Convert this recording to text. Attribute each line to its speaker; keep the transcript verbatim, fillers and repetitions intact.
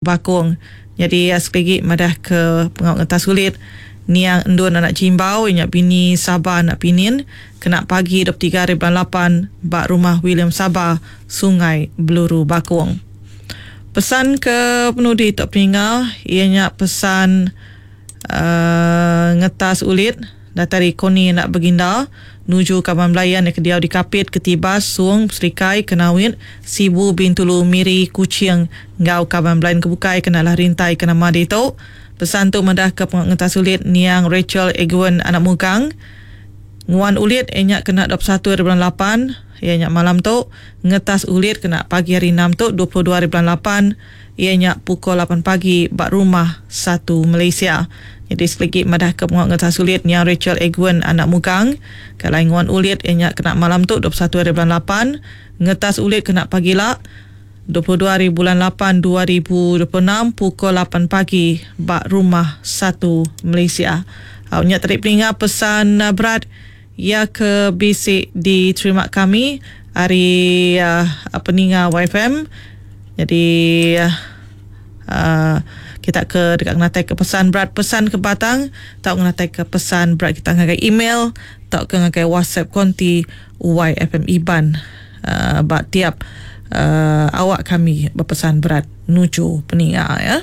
Speaker 1: Bakong. Jadi sekali lagi madah ke pengawal ngetas kulit niang Endun anak Jimbau nya bini Saba anak Pinin kena pagi dua puluh tiga hari bulan lapan ba rumah William Saba Sungai Beluru Bakong. Pesan ke penudi tok peninga ianya pesan uh, ngetas ulit datai Koni anak Beginda nuju kaban belayan yang kediau di Kapit, Ketibas, Suong, Serikai, Kenawit, Sibu, Bintulu, Miri, Kuching ngau kaban belayan kebukai kenalah rintai ke nama ditu. Pesan tu madah ke pengetas ulit niang Rachel Egwen anak Mugang. Nguan ulit ianya kena dua puluh satu hari bulan lapan, ianya malam tu. Ngetas ulit kena pagi hari enam tu dua puluh dua hari bulan lapan, ianya pukul lapan pagi ba rumah satu Malaysia. Jadi sekali lagi madah ke pengetas ulit niang Rachel Egwen anak Mugang. Kalau nguan ulit ianya kena malam tu dua puluh satu hari bulan lapan, ngetas ulit kena pagi la dua puluh dua hari bulan lapan dua ribu dua puluh enam pukul lapan pagi ba rumah satu Malaysia. Au nya tadi peninga pesan berat ya ke bisi diterima kami hari uh, peninga Y F M. Jadi uh, kita ke dekat ngatai ke pesan berat, pesan ke batang, tau ngatai ke pesan berat kita ngagai email, tau ke ngagai WhatsApp konti Y F M Iban uh, ba tiap uh, awak kami berpesan berat nuju peninga ya.